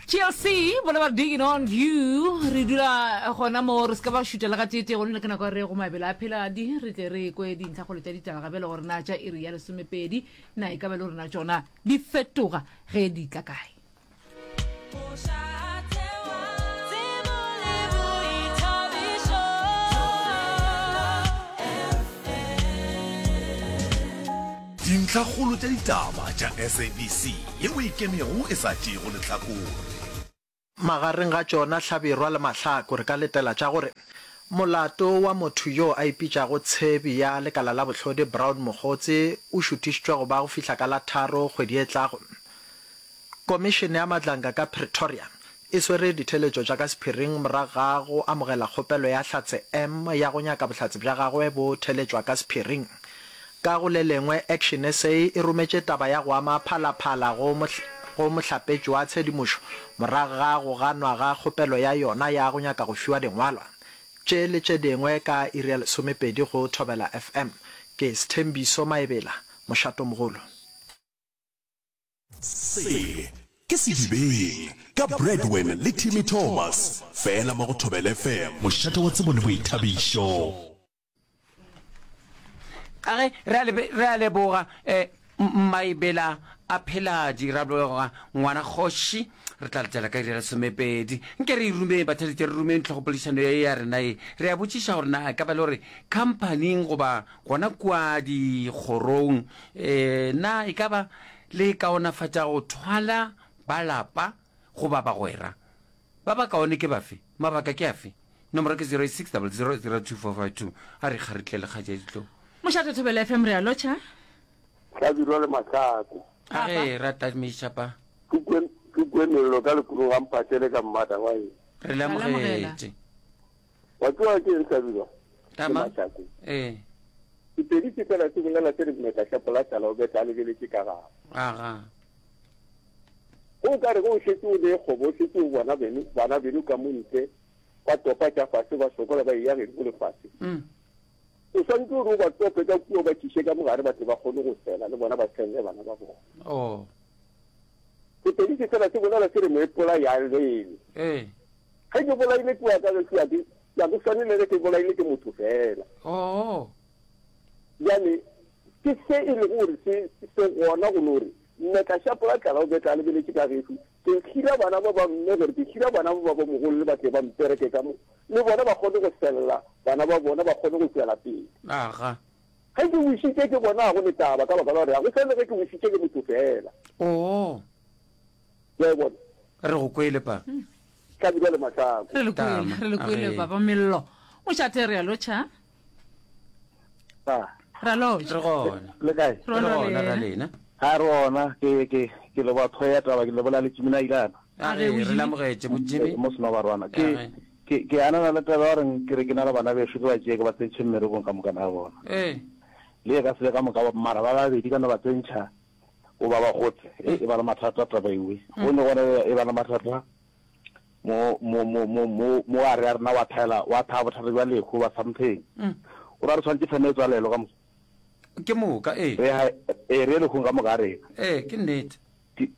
TLC bona ba digging on you re dula gona mo re se ka ba šutela ga tete go nne ke nako ya re go mabelo a pheladi re tle re kwe dintlhakgolo tša ditaba gabe le gore na tša iri ya lesomepedi na e ka ba le gore na tšona di fetoga ge di tla kae. Dintlhakgolo tša ditaba tša SABC yeo e ikemego e sa tšeego lehlakore. Magareng ga tšona Hlabirwa le Mahlaku re ka letela tša gore molato wa motho yo a ipitšago tshebi ya lekala la bohlodi Brown Mogotsi o šuthišitšwe go ba go fihla ka la tharo kgwedi e tlago. Komišene ya Madlanga ka Pretoria e swere ditheeletšo tša ka sephiring morago ga go amogela kgopelo ya Hlatse M ya go nyaka bohlatse bja gagwe bo theeletšwa ka sephiring. Ka go le lengwe, Action SA e rometše taba ya go ama Phala-Phala go go mohlapetši wa tshedimošo morago ga go ganwa ga kgopelo ya yona ya go nyaka go fiwa dingwalwa tše le tše dingwe ka iri ya lesomepedi go Thobela FM. Ke Sthembiso Maebela, Mošatomogolo. Se ke Sedibeng ka Bradwin le Timmy Thomas, fela mo go Thobela FM, mošate wa tsebo le boithabišo. A ge re a lebe, re a leboga eh, Maebela a Pheladi, ra leboga ngwana kgoši. Re tla letela ka iri ya lesomepedi. Nke re e rumeng, batheletši, re rumeng tlhogopoledišano ye ya rena ye. Re a botšiša gore na e ka ba le gore khamphaning goba gona kua dikgorong um na e ka ba le kaonafatša go thwala ba lapa goba bagwera? Ba bakaone ke bafe? Mabaka ke afe? Nomoro ke 086 00 02452. A re kgaritle le kgaetšedi Tlou. Mošate Thobela FM re a lotšha. Hlabirwa le Mahlako. A ge ra tamiša pa. Ke kwe ke kwe mello ka lekurung ga Mphahlele ka mmata wa eng. Re le amogetše. Wa tseba ke eng Hlabirwa le Tama. Mahlako? Ee. Sepedi se fela se bolela se re mmetla šapo la tlala o betla a lebeletše ka gare. Aga. Go ka re ge o šetše o le kgobo o šetše o bona beno bana beno ka mo ntle ba topa tša fase ba sokola ba eya gedimo le fase. Mm. O swanetše gore o ba tope ka kua o ba tliše ka mogare ba tle ba kgone go sela le bona ba tshelle bana ba bona. Oh. Sepedi se fela se bolela se re moepola ya lele. Ee. Ge ke bolaile kua ka gešo ya ke ya ke swane le ge ke bolaile ke motho fela. Oh. Bjale ke se e lego gore se se gona go no re mmetla šapo la tlala o betla a lebeletše ka gešo. Ke hira bana ba ba mme gore ke hira bana ba ba bo mogolole ba tle ba mpereke ka mo le bona ba kgone go sella bana ba bona ba kgone go tšwela pele. Aga. Ge ke wišitše ke bona ga go ne taba ka baka la gore ga go swane ge ke wišitše ke motho fela. Oo. Wa e bona? Re go kwele pa. Hlabirwa le Mahlako. Re le kwele, Tama. re le kwele Age. papa Mello. Mošate re a lotšha. Ah. Re a lotšha. Re gona. Le kae? Re gona ra lena. Ha re gona ke ke ke leboga tlhogo ya taba ke lebola le Jimmy Nailana. A re re lamogetše bo Jimmy. Mo Senobarwana. Ke ke ke anana le taba ya gore ke re ke na le bana bešo ke ba tšee ke ba tsentšhe mmerekong ka moka na bona. Ee. Le e ka se be ka moka mara ba babedi ka no ba tsentšha o ba ba gotse. E e ba le mathata taba ewe. Go ne gona e ba le mathata mo mo mo mo mo mo a re a rena wa thaela wa thaa bothata bja lehu ba something. O ra re tshwanetse feme e tswalelo ka mo. Ke moka ee. Re ha ee re ye lehung ka moka rena. Ee ke nnete.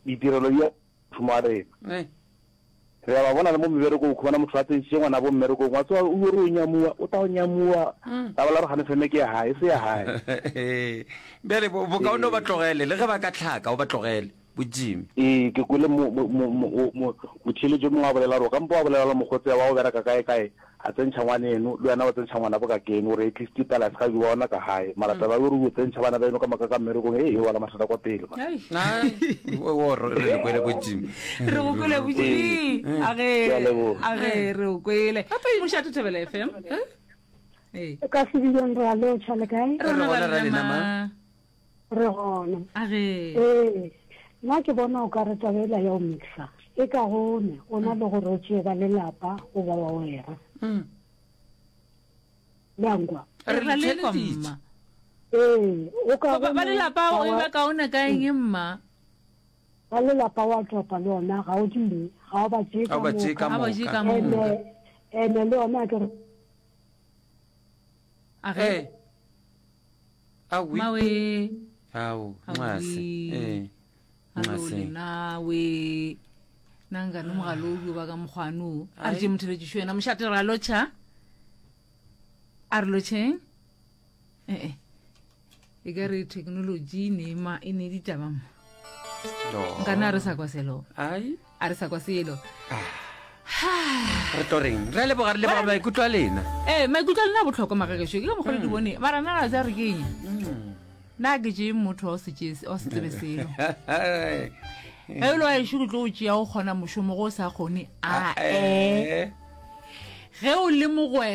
Ditirelo di ya mošomo wa rena. Ee. Re a ba bona le mo meberekong o khumana motho a tsentšitše ngwanabo mmerekong wa tseba o yo re o nyamuwa o tla o nyamuwa la ba la re gane feme ke ya hae e se ya hae. Ee. Bjale bo bokaone o ba tlogele le ge ba ka hlaka o ba tlogele bo Jimmy. Ee ke kwele mo mo mo mo mo motheeletši yo mongwe a bolela gore o ka mpa wa bolela le mokgotsi wa go bereka kae kae A tsentšha ngwaneno, le wena wa tsentšha ngwanabo ka keno, gore at least pela se ga di bona ka gae. Mara taba ya gore o tsentšha bana beno ka moka ka mmerekong, hei, e wela mathata kwa pele man. Ai, o re le kwele bo Jimmy. Re go kwele bo Jimmy. A ge, Ke a leboga. a ge re o kwele. Mošate Thobela FM. Ee. Ka sebidong re a lotšha le kae? Re gona ra lena ma. Re gona. A ge. Ee, nna ke bona o ka re taba ela ya go mixa e kaone go na le gore o tšee ba lelapa goba wa wera. Le a nkwa? Re Re le lekwa theeleditše. mma. Ee, o Ba kaone ba lelapa ga e wa ba kaone ka eng mma? Ba lelapa wa topa le ona ga o ding, ga o ba tšee Ga o ka ba tšee ka moka. Ga ba tšee moka. ka moka. Ene ene le ona ke re A ge. Ee. Awi. Mawe. Ao, nxase. Awi. Ee. Alo Nxase. lenawe. Nna nkane mogala o dio ba ka mokgwane o. A re tše motheletšišo yena mošate ra lotšha. A re lotšheng. Ee. E ka re technology e ne ma e ne ditaba mo. Nkane a re sa kwa selo. Ai. A re sa kwa selo. Re tlo reng? Re a leboga re leboga maikutlo a lena. Ee, maikutlo a lena a bohlokwa magagešo. Ke ka mokgwa le di bone. Mara nna la tsa re ke eng? Na ke tšee motho wa o se tšee wa se tsebe selo. Ge e le wa ešo ke tlo o tšea o kgona mošomo go o sa kgone a e. Ge o le mogwera.